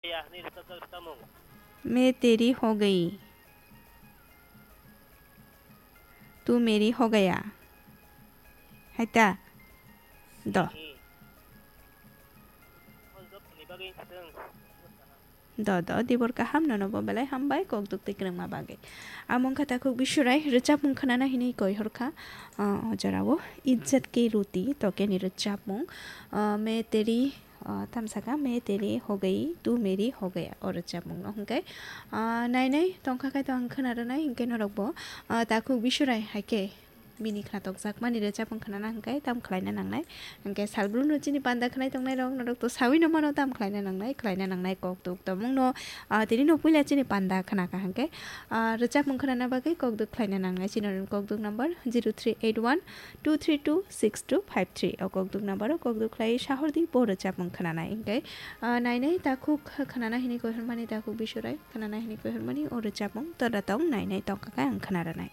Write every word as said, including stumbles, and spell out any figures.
Ya, ni rwchapjak rwchapmung. मैं तेरी हो गई, तू मेरी हो गया. Hai ta? Do. Hmm. Hol job ni bagwi thang. Do, do, dibor kaham, nono bo belai hambai, kok duk twi kwrwngma bagwi. Amo wngkha Takhuk Bisurai, rwchapmung khwnana hinwi koi horkha, ah, o jorao, Ijjat Ki Roti, tokeni rwchapmung, ah, मैं तेरी, ah, tamsaka, मैं तेरी हो गई, तू मेरी हो गया, o rwchapmung no hwnkhe, ah, nainai tongkha khai to ang khwna rwnai, hwnkhe norok bo, ah, Takhuk Bisurai hai khe, bini khwnatok jakmani rwchapmung khwnana hwnkhe tam khlaina nangnai. Hwnkhe salbrum no chini panda khwnai tongnai rok norok to sawi no mano tam khlaina nangnai, khlaina nangnai kok duk tomung no, ah, tini no puila chini panda khwnakha hwnkhe, ah, rwchapmung khwnana bagwi kok duk khlaina nangnai chini kok duk number zero three eight one two three two six two five three. O kok duk number o kok duk khlai sahordi bo rwchapmung khwnanai hwnkhe, ah, nainai Takhuk khwnana hinwi koi hormani Takhuk Bisurai khwnana hinwi koi hormani o rwchapmung tora tong nainai tongkha khe ang khwna rwnai.